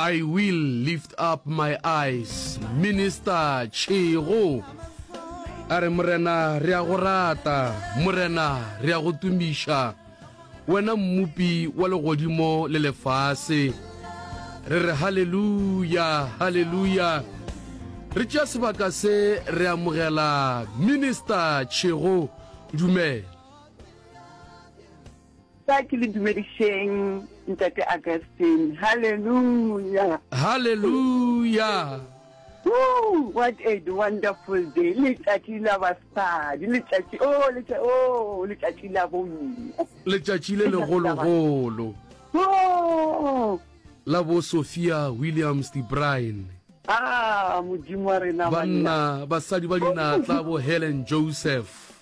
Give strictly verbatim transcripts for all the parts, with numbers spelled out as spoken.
I will lift up my eyes. Minister Tšhego a re Morena re a go rata, Morena re a go tumiša, wena mmopi wa legodimo le lefase. Re re haleluya, haleluya. Re tšea sebaka se re amogela Minister Tšhego. Dumela. Sa ke le dumedišeng ntate Augustine. Hallelujah. Hallelujah. Woo, what a wonderful day. Letšatši la basadi, letšatši oh letšatši oh letšatši la bomme. Letšatši le legologolo. Oh. La bo Sophia Williams de Bruyn. Ah, Modimo wa rena banna, basadi ba dinatla bo Helen Joseph.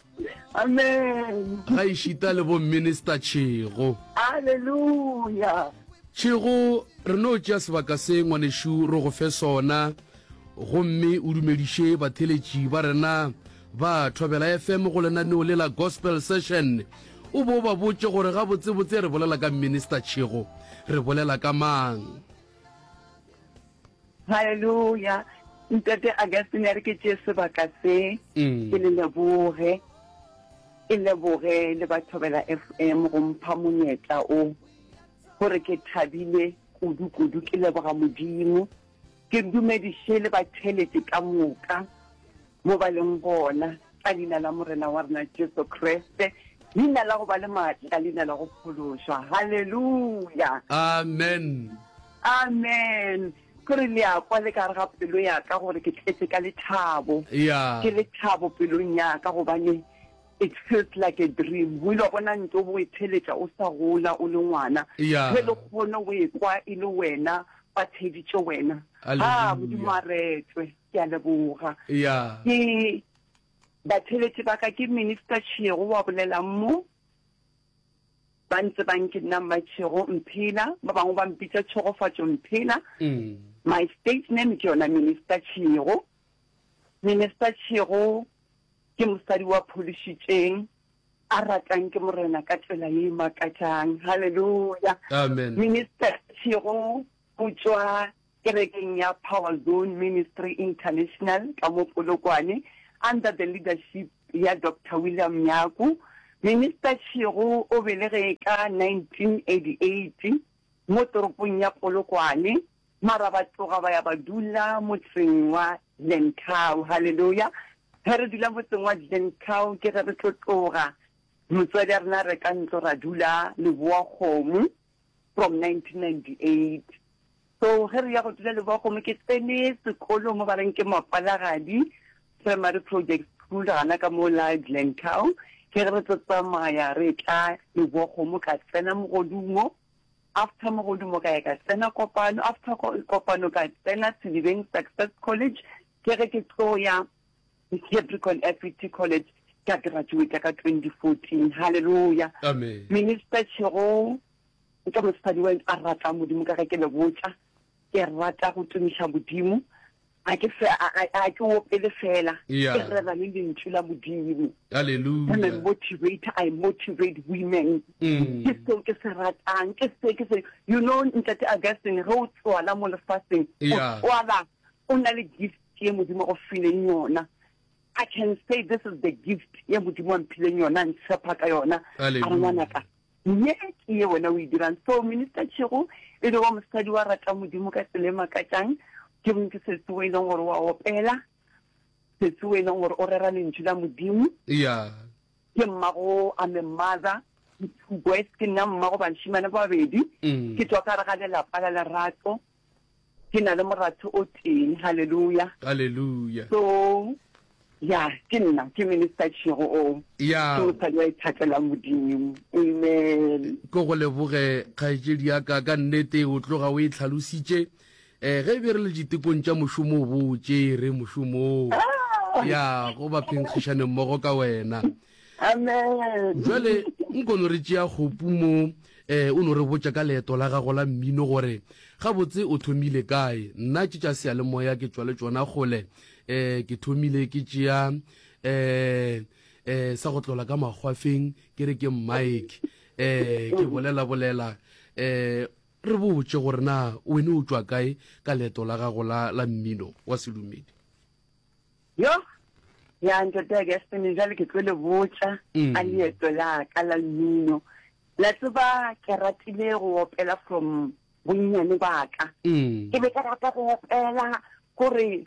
Amen. Ga ešita le bo Minister Tšhego. Hallelujah. Tšhego, re no tšea sebaka se ngwanešu re go fe sona, gomme o dumediše batheletši ba rena ba Thobela F M go lenaneo le la Gospel Session. O bo ba botše gore gabotsebotse re bolela ka Minister Tšhego, re bolela ka mang. Hallelujah. Ntate Augustine, ya re ke tšee sebaka se, ke le leboge, ke leboge le ba Thobela F M go mpha monyetla o, gore ke thabile kudu kudu, ke leboga Modimo, ke dumediše le batheletši ka moka mo ba leng gona, ka leina la Morena wa rena Jesu Kriste, leina la go ba le maatla, leina la go phološwa. Hallelujah. Amen. Amen. Kore le a kwa le ka gare ga pelo ya ka gore ke tletse ka lethabo. Yeah. Ke lethabo pelong ya ka gobane it feels like a dream. O ile wa bona ntho o bo e theletša o sa gola o le ngwana. Yeah. Ge le kgone go e kwa e le wena, ba theditše wena. Ah, Modimo a retwe. Ke a leboga. Yeah. Ke batheletši ba ka, ke Minister Tšhego wa bolelang mo. Ba ntse ba nke nna Mmatšhego Mphela, ba bangwe ba mpitša Tšhegofatšo Mphela. Mm. My stage name ke yona Minister Tšhego. Minister Tšhego ke mosadi wa phološitšeng, a ratang ke Morena ka tsela ye e makatšang. Hallelujah. Amen. Minister Tšhego o tšwa kerekeng ya Power Zone Ministry International ka mo Polokwane, under the leadership ya Doctor William Nyaku. Minister Tšhego o belege ka nineteen eighty-eight mo toropong ya Polokwane, mara ba tloga ba ya ba dula motseng wa Glencoe. Hallelujah. Ge re dula motseng wa Glencoe ke ge re tlo tloga motswadi a rena re ka ntlo ra dula Leboa-Kgomo from nineteen ninety-eight. So ge re ya go dula Leboa-Kgomo ke tsene sekolo mo ba reng ke Mapalagadi Primary Project School gana ka mo la Glencoe. Ke ge re tlo tsamaya re tla Leboa-Kgomo ka tsena Mogodumo. After Mogodumo ka ya ka tsena Kopano, after Kopano ka tsena Sedibeng Success College. Ke ge ke tlo ya Capricorn F E T College ka graduate ka twenty fourteen. Hallelujah. Amen. Minister Tšhego ke mosadi wa a rata Modimo ka ge ke le botša, ke rata go tumiša Modimo. A ke fe, a, a, a ke opele fela. Yeah. Ke rera le lentšu la Modimo. Hallelujah. I'm a motivator, I motivate women. Mm. Ke seo ke se ratang, ke se ke se, you know, Ntate Augustine, ge o tswala mo lefaseng, o Yeah. tswala o na le gift ye Modimo go fileng yona. I can say this is the gift ye Modimo a mphileng yona, a ntshepa ka yona. A re Hallelujah. ngwanaka, ye ke ye wena o e dirang. So Minister Tšhego e le wa mosadi wa rata Modimo ka tsela e makatšang. Ke ke sesi o e leng gore wa opela, sesi o e leng gore o rera lentšu la Modimo. Yeah. Ke mmago, I'm a mother, two boys, ke nna mmago bašemane ba babedi. Mm. Ke tswa ka gare ga lelapa la lerato. Ke na le moratho o teng. Hallelujah. Hallelujah. So, ya, ke nna, ke Minister Tšhego o. Ya. Ke mosadi wa ithatelang Modimo. Amen. Ke go leboge kgaetšedi ya ka, ka nnete o tloga o e tlhalositše. Eh, ge be re le ditekong tša mošomo o bo tšere mošomo o. Ah. Ya, go ba phenkgišane mmogo ka wena. Amen. Jwale nko no re tšea kgopu mo, eh, o no re botša ka leeto la gago la mmino gore gabotse o thomile kae. Nna tše tša seyalemoya ke tšwa le tšona kgole. Eh, ke thomile ke tšea, eh, eh, sa go tlola ka makgwafeng, ke re ke mic. Eh, ke bolela bolela. Eh, Re botše gore na wene o tšwa kae ka leeto la gago la, la mmino wa sedumedi. Yo, ya ntate Augustine, jwale ke tlo le botša ka leeto la ka la mmino. La tseba ke ratile go opela from bonnyane ba ka. Ke be ke rata go opela gore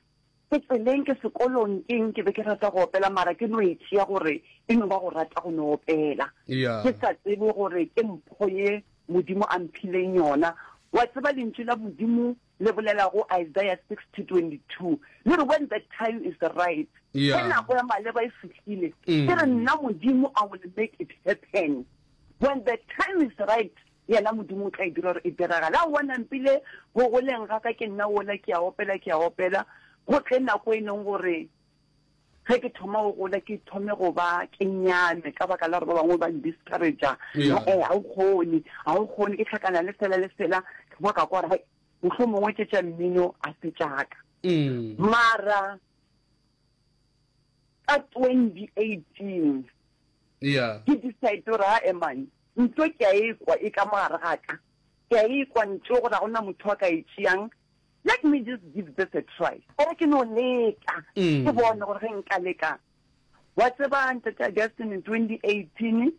ke tseleng ke sekolong keng ke be ke rata go opela mara ke no e tšea gore e no ba go rata go no opela. Ke sa tsebe gore ke mpho ye Modimo a mphileng yona. Wa tseba lentšu la Modimo le bolela go Isaiah sixty twenty two le re when the time is right, ge nako ya maleba e fihlile, ke re nna Modimo I will make it happen. When the time is right, yena Modimo o tla e dira gore e diragale. Aowa nampile go goleng ga ka ke nna wola ke a opela ke a opela, go tle nako e leng gore ge ke thoma go gola ke thome go ba ke nyame ka baka la gore ba bangwe ba n-discourage-a, Yeah. eh, ga o kgone, ga o kgone, ke hlakana le sela le sela, ke kwa ka kwa gore hai, mohlomongwe tše tša mmino a se tša ka. Mm. Mara ka twenty eighteen Yeah. ke decide gore ae man, ntho ke a e kwa e ka mo gare ga ka, ke a e kwa ntho gore ga gona motho a ka e tšeang, let me just give this a try. Gore ke no leka, Mm. ke bone gore ge nka leka. Wa tseba ntate Augustine in twenty eighteen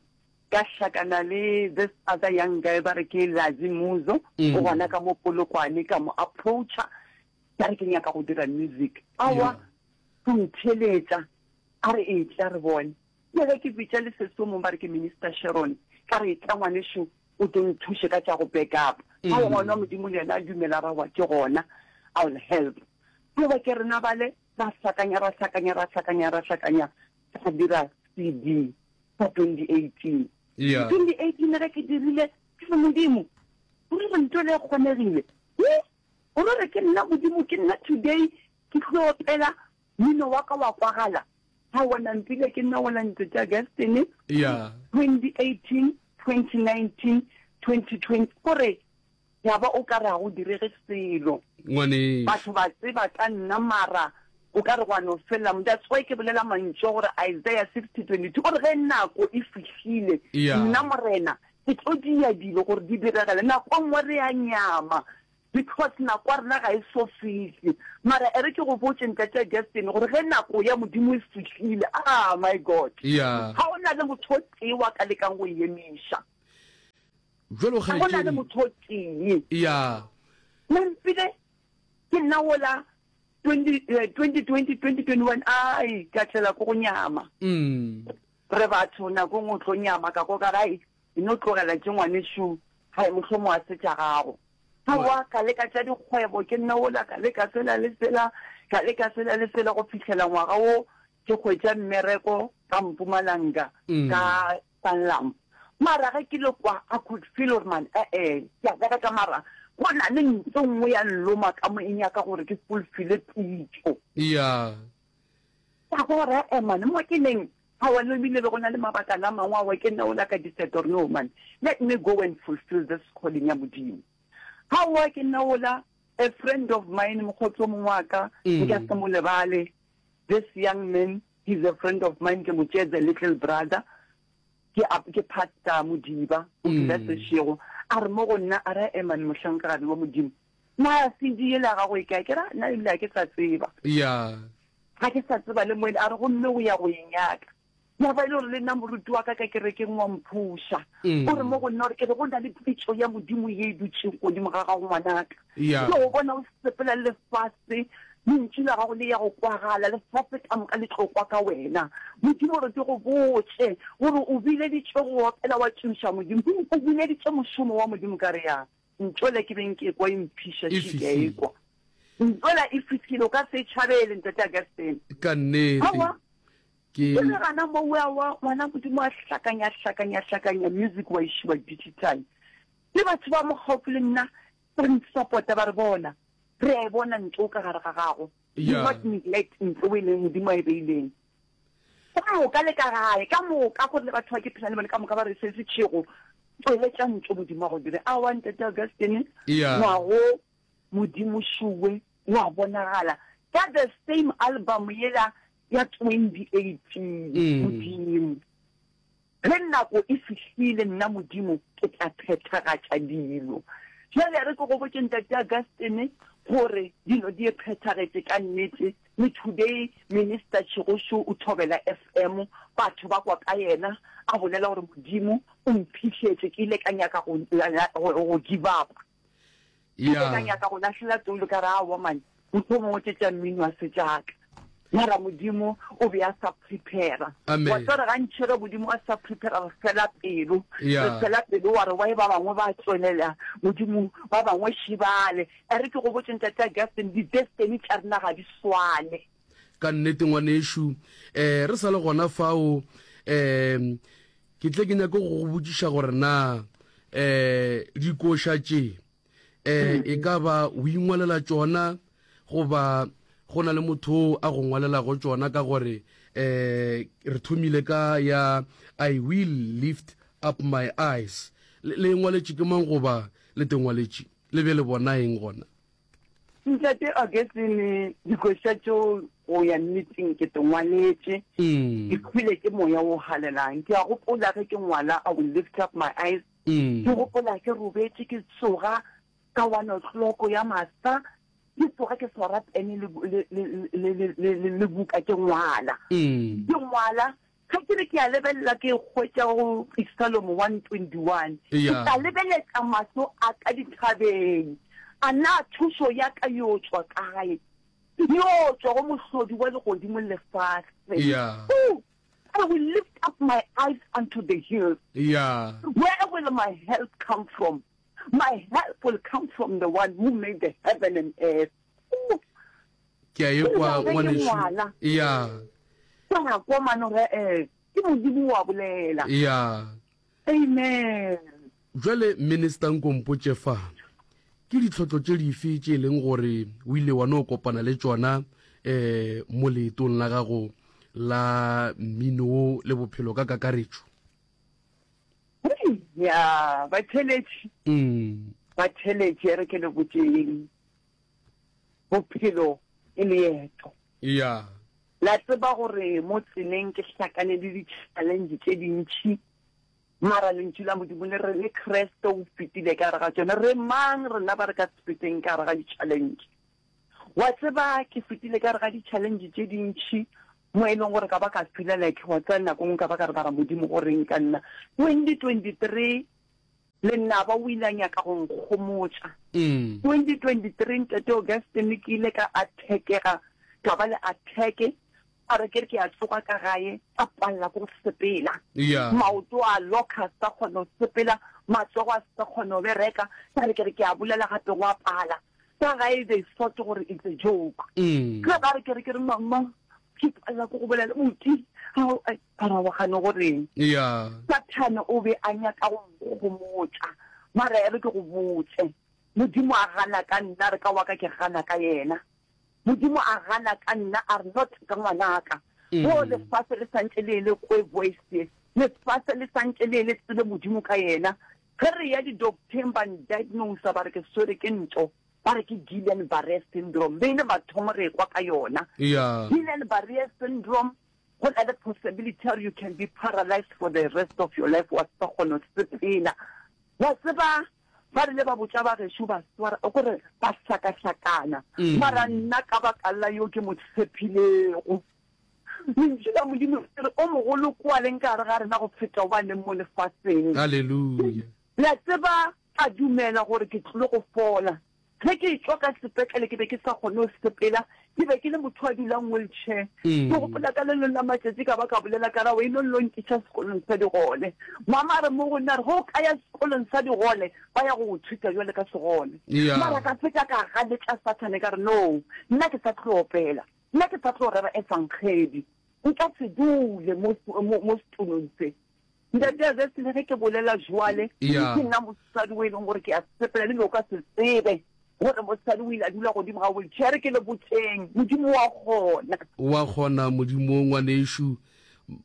ka hlakana le this other young guy ba re ke Lazi Muzo, Mm. o gona ka mo Polokwane, ka mo approacha, ka re ke nyaka go dira music. Aowa, Yeah. go ntheletša, a re e tla re bone. Ke ge ke bitša le sesi o mongwe ba re ke Minister Sharon, ka re e tla ngwanešu o tlo nthuše ka tša go back up. Mm. Aowa, ngwana wa Modimo le yena a dumela ra wa ke gona, I will help. Ke ba ke rena bale ra hlakanya, ra hlakanya, ra hlakanya, ra hlakanya, ra dira C D ka twenty eighteen. Yeah. twenty eighteen ge ke dirile, ke re Modimo, o re ntho le kgonegile. He? O re ke nna Modimo, ke nna today, ke tlo opela mmino wa ka wa kwagala. Ha wona mpile ke nna wona ntate Augustine. Yeah. twenty eighteen, twenty nineteen, twenty twenty, gore ya ba o ka re ha go direge selo. Ngwaneso. Batho ba tseba ka nna mara o ka re gwa no fela. That's why ke bolela mantšu gore Isaiah sixty twenty two, gore ge nako e fihlile, Yeah. nna Morena ke tlo dia dilo gore di diragale. Nako e nngwe re a nyama because nako ya rena ga e so fihle. Mara e re ke go botše ntate Augustine gore ge nako ya Modimo e fihlile, ah my God, Yeah. ga o na le motho o tee wa ka lekang go e emiša. Jwalo Ga go na le kgaetšedi. motho o tee. Yeah. Nampile ke nna wola twenty, eh, twenty twenty, twenty twenty-one, ai, ka tlela ko go nyama. Mm. Re batho nako nngwe o tlo nyama ka ko ka re, ai, e no tlogela tše ngwanešu, hai, mohlomongwe a se tša gago. Aowa, ka leka tša dikgwebo, ke nna wola, ka leka sela le sela, ka leka sela le sela go fihlela ngwaga wo ke hwetša mmereko ka Mpumalanga, Mm. ka Sanlam. Mara ge ke le kwa, I could feel gore man, eh, eh, ke a bereka mara go na le ntho nngwe ya nloma ka mo e nyaka gore ke fulfile pitso. Yeah. Ka gore, eh, man, mo ke neng, aowa, le ebile be go na le mabaka la mangwe aowa, ke nna ola ka decide gore no man, let me go and fulfill this calling ya Modimo. Aowa, ke nna ola, a friend of mine, mokgotsi o mongwe wa ka, Mm. nka se mo lebale. This young man, he's a friend of mine, ke mo tšeetsa little brother. Ke a, ke pastor Modiba, o dula Mm. Seshego. A re mo go nna, a re, eh, man, mohlankagadi wa Modimo. Na C D ela gago e kae? Ke ra, nna ebile ha ke sa tseba. Yeah. Ha ke sa tseba le moene, a re gomme o ya go e nyaka. Ya ba e le gore le nna moruti wa ka ka kerekeng wa mphuša. Mm. O re mo go nna gore ke re go na le pitso ya Modimo ye e dutšeng godimo ga gago ngwanaka. Yeah. Ke go bona o sepela le lefase, lentšu la gago le ya go kwagala, lefase ka moka le tlo kwa ka wena. Modimo re ke go botše gore o bileditše go opela wa tšoša Modimo, o bileditše mošomo wa Modimo ka re ya. Ntšwele ke beng ke kwa e mphiša, E še ke a e fihlile. kwa. Ntšwela e fihlile, o ka se e tšhabele, ntate Augustine. Ka nnete. Aowa. Ke Ke le gana mo wa wa ngwana Modimo a hlakanya, hlakanya, hlakanya music wa išiwa digital. Le batho ba mo gaufi le nna ba nsupporta ba re bona, re a e bona ntlo ka gare ga gago. Do Yeah. not neglect ntlo e leng Modimo a e beileng. Ka moka le ka gae, ka moka gore le batho ba ke phela le bone ka moka ba re se se tšhego, tsweletša ntlo Modimo a go dire. Aowa, ntate Augustine, Yeah. ngwago Modimo šuwe wa bonagala. Ka the same album yela ya twenty eighteen, Mm. Modimo. Ge nako e fihlile nna Modimo ke tla phethagatša dilo. Jale re ke go botše Ntate Augustine gore dilo di e phethagetše ka nnete, le today Minister Tšhegošo o Thobela F M, batho ba kwa ka yena a bolela gore Modimo o mphihletše, ke ile ka nyaka go, go, go give up. Ke ile ka Ya. nyaka go lahlela toulo ka re aowa man, mohlomongwe tše tša mmino a se tša ka. Mara Modimo o be a sa prepare. Wa Amen. tseba gantši ge Modimo a sa prepare re fela pelo. Re Ya. fela pelo wa re why ba bangwe ba tswelela Modimo ba bangwe šibale. E re ke go botše Ntate Augustine, di-destiny tša rena ga di swane. Ka nnete ngwanešu, eh re sa le gona fao, eh ke tle ke nyake go go botšiša gore na eh dikoša tše eh e ka ba o ingwalela tšona goba go na le motho a go ngwalelago tšona, ka gore eh re thomile ka ya I will lift up my eyes, le le ngwaletše ke mang goba le te ngwaletše le be le bona eng gona? Ntate Augustine, dikoša tšeo go ya nneteng ke te ngwaletše, Mm. ke hwile ke moya o halelang. Ke a gopola ge ke ngwala I will lift up my eyes, Mm. ke gopola ke robetše ke tsoga ka one o'clock ya masa, ke tsoga ke swara pene le le le le le le le buka ke ngwala. Mm. Ke ngwala ge ke re ke a lebelela ke hwetša go Psalm one twenty one. Ke Ya. tla lebeletša mahlo a ka dithabeng, a na thušo ya ka yo tšwa kae? Yo tšwa go mohlodi wa legodimo le lefase. Ya. Ooh, I will lift up my eyes unto the hills. Ya. Where will my help come from? My help will come from the one who made the heaven and earth. Ooh, Ke a ke ekwa re ge ke ngwanešu. ngwala, Ya. ka kwa mane gore eh ke Modimo wa bolela. Ya. Amen. Jwale Minister nkompotše fa, ke ditlhotlo tše dife tše e leng gore o ile wa no kopana le tšona eh mo leetong la gago la mmino le bophelo ka kakaretšo? Hei, ya batheletši, Mm. batheletši re ke le botšeng. Bophelo ke leeto. Ya. La tseba gore mo tseleng ke hlakane le di-challenge tše dintši, mara lentšu la Modimo le re le Kriste o fetile ka gare ga tšona. Re mang rena ba re ka se feteng ka gare ga di-challenge? Wa tseba ke fetile ka gare ga di-challenge tše dintši mo e leng gore ka ba ka feel like wa tseba nako nngwe ka ba ka re mara Modimo o reng ka nna. twenty twenty-three lenaba o ile a nyaka go nkgomotša. Mm. twenty twenty-three Ntate Augustine ke ile ka attackega, ka ba le attack, a re ke re ke a tsoga ka gae, ka palela ke go sepela. Ya. Maoto a locka, a sa kgone go sepela, matsogo a sa kgone go bereka, ka re ke re ke a bolela gape go a pala. Ka gae they thought gore it's a joke. Mm. Ge ba re ke re ke re mama, ke palela ke go bolela, buti, ao, ai, ba ra wa gane goreng. Ya. Sathane o be a nyaka go nkgomotša, mara e re ke go botše, Modimo a gana ka nna, re ka wa ka ke gana ka yena. Modimo a gana ka nna, a re not ka ngwanaka. Go Mm. lefase le santše le le kwe voice ye, lefase le santše le le tsebe Modimo ka yena. Ge re ya di-docteng ba ndiagnose ba re ke swere ke ntho, ba re ke Guillain-Barré syndrome. Be ile mathomo re ekwa ka yona. Ya. Guillain-Barré syndrome, go na le possibility gore you can be paralyzed for the rest of your life, wa se kgone go sepela. Wa tseba ba rile ba botša ba gešo ba swara, o kore ba hlakahlakana. Mara Mm. nna ka baka la yo ke mo tshepilego, lentšu la Modimo le re o mogolo kwa leng ka gare ga rena go feta o ba leng mo lefaseng. Hallelujah. La tseba ka dumela gore ke tlile go fola. Ge ke tšwa ka sepetlele ke be ke sa kgone go sepela, ke be ke le motho a dulang wheelchair. Ke Mm. gopola ka le lengwe la matšatši ka ba ka bolela ka ra o eno lo nkiša sekolong sa digole. Mama a re mo go nna re ge o ka ya sekolong sa digole ba ya go go thuta jwale ka segole. Ya. Mara ka fetša ka ganetša Sathane ka re no, nna ke sa tlo opela, nna ke sa tlo rera efankgedi, nka se dule mo mo mo setulong se. Ntate Augustine ge ke bolela jwale, Ya. ke nna mosadi o e leng gore ke a sepela le be o ka se tsebe gore mosadi o ile a dula godimo ga wheelchair. Ke le botšeng, Modimo wa kgona. Wa kgona Modimo ngwanešu,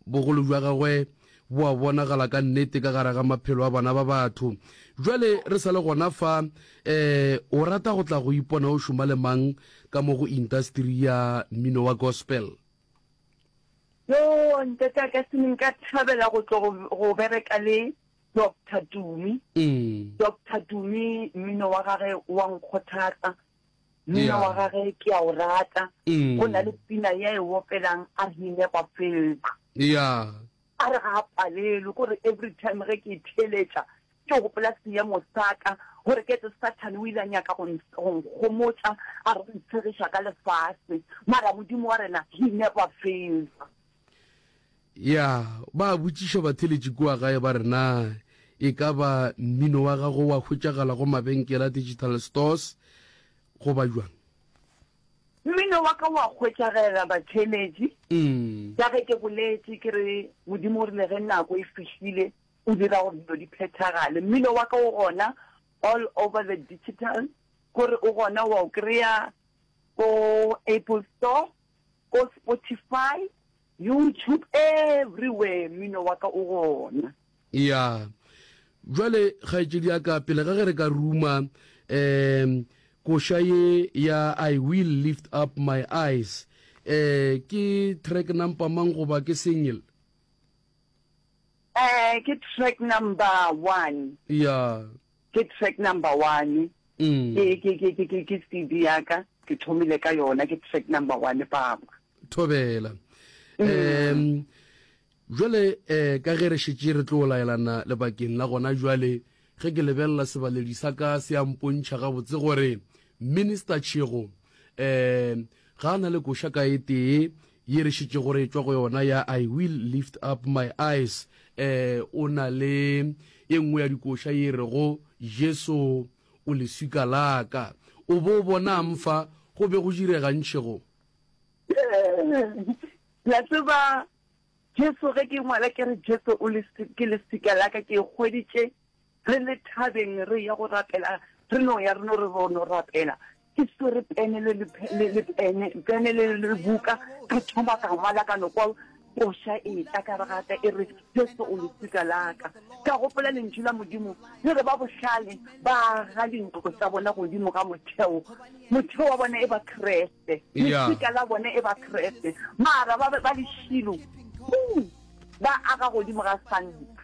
bogolo bja gagwe bo a bonagala ka nnete ka gare ga maphelo a bana ba batho. Jwale re sa le gona fa, eh o rata go tla go ipona o šoma le mang ka mo go industry ya mmino wa gospel? Yo, ntate Augustine, nka thabela go tlo go go bereka le Doctor Tumi. Mm. Doctor Tumi, mmino wa gage wa nkgothatsa. Mmino Yeah. wa gage ke a o rata. Mm. Go na le pina ya e opelang a re he never fails. Yeah. A re ga a palelwe, kore every time ge ke e theeletša ke gopola seemo sa ka, gore ke etse Sathane o ile a nyaka go go nkgomotša, a re o ntshegiša ka lefase, mara Modimo wa rena he never fails. Ya, ba botšiša batheeletši kua gae ba re na e ka ba mmino wa gago wa hwetšagala go mabenkele a digital stores goba jwang? Mmino wa ka wa hwetšagela batheeletši. Mm. Ka ge ke boletše ke re Modimo o rile ge nako e fihlile o dira gore dilo di phethagale. Mmino wa ka o gona all over the digital, gore o gona wa o kry-a ko Apple Store, ko Spotify, YouTube, everywhere mmino wa ka o gona. Ya. Jwale kgaetšedi ya ka, pele ga ge re ka ruma um koša ye ya I Will Lift Up My Eyes, um ke track number mang goba ke single? Eh, ke track number one. Ya. Ke track number one. Mm. Ke, ke, ke, ke, ke, ke C D ya ka, ke thomile ka yona, ke track number one, papa. Thobela. Um, jwale, eh, ka ge re šetše re tlo laelana lebakeng la gona jwale, ge ke lebelela sebaledi sa ka se a mpontšha gabotse gore Minister Tšhego, eh, ga a na le koša ka e tee ye re šetše gore e tšwa go yona ya I Will Lift Up My Eyes, eh, o na le e nngwe ya dikoša ye rego Jesu o leswika la ka. O bo bonang fa go be go diregang Tšhego? La tseba Jesu ge ke ngwala ke re Jesu o lesi-, ke leswika la ka, ke hweditše re le thabeng re ya go rapela, re no ya re no re ro no rapela. Ke swere pene le le pe-, le, le pene, pene le, le buka, ka thoma ka ngwala ka no kwa koša e tla ka re gata e re Jesu o leswika la ka. Ka gopola lentšu la Modimo le re ba bohlale ba aga dintlo tsa bona godimo ga motheo, motheo wa bona e ba Kreste, Yeah. leswika la bona e ba Kreste, mara ba, ba lešilo, uh, ba aga godimo ga santa.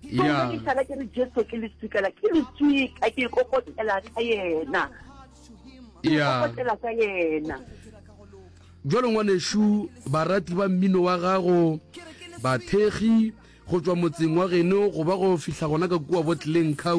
So Yeah. ge ke šala ke re Jesu ke leswika la, ke leswika, ke ikokotela ka yena. Ke Yeah. ikokotela ka yena. Jwale ngwanešu, barati ba mmino wa gago, bathekgi go tšwa motseng wa geno go ba go fihla gona ka kua Botleng County,